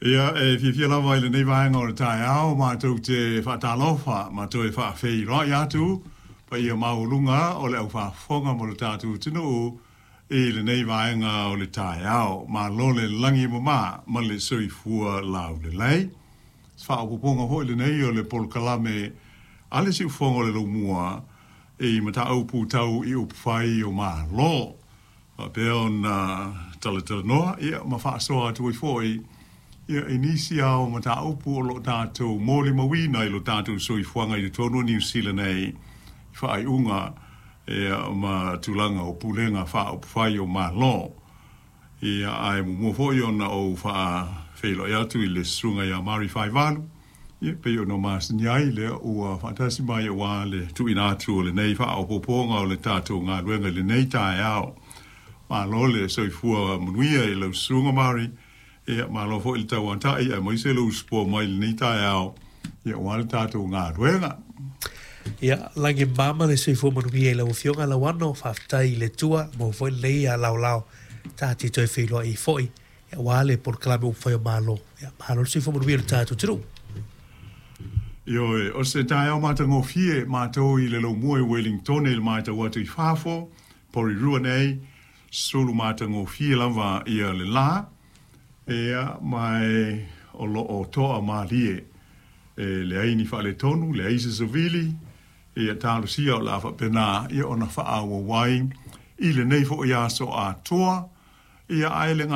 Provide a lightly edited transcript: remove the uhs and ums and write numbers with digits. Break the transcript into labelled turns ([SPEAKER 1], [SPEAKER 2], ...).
[SPEAKER 1] Ia, e fiafia lava i lenei vaega o le taeao matou te faatalofa ma toe faafeiloai atu paia maualuga o le aufaafofoga mo le tatou atunuu i lenei vaega o le taeao. Malo le lagi e mama ma le soifua laulelei. Se faaopoopoga foi lenei o le polokalame a le Siufofoga o le Laumua i mataupu tau i upufai o Malo. Faapea ona talatalanoa ia ma faasoa atu ai foi ia i nisi lava o mataupu o lo o tatou molimauina i lo tatou soifuaga i totonu o Niu Sila nei i faaiuga ia ma tulaga o pulega faaupufai o Malo. Ia, ae muamua foi ona ou faafeiloai atu i le susuga ia Mari Faivalu, ia, pei ona masani ai lea ua faatasi mai aua le tuuina atu o lenei faaopoopoga o le tatou galuega i lenei taeao. Malo le soifua manuia i lau susuga Mari, ia, malo foi le tauatai aemaise lou usupoa mai i lenei taeao, ia, aua le tatou galuega.
[SPEAKER 2] Ia, lagi mama le soifua manuia i lau Afioga Lauano, faafetai i le Atua, maua foi lenei laolao ta te toe feiloai ai foi aua le polokalame upufai o Malo. Ia, malo le soifua manuia i le tatou atunuu.
[SPEAKER 1] Ioe, o se taeao matagofie matou i le laumua i Wellingtone i le matau atu i fafo, Porirua nei, sulu matagofie lava ia le la, ia, ma e o lo o toa malie. E leai ni faaletonu, leai se savili, ia talosia o le a faapena ia ona faaauau ai i lenei foi aso atoa, ia ae le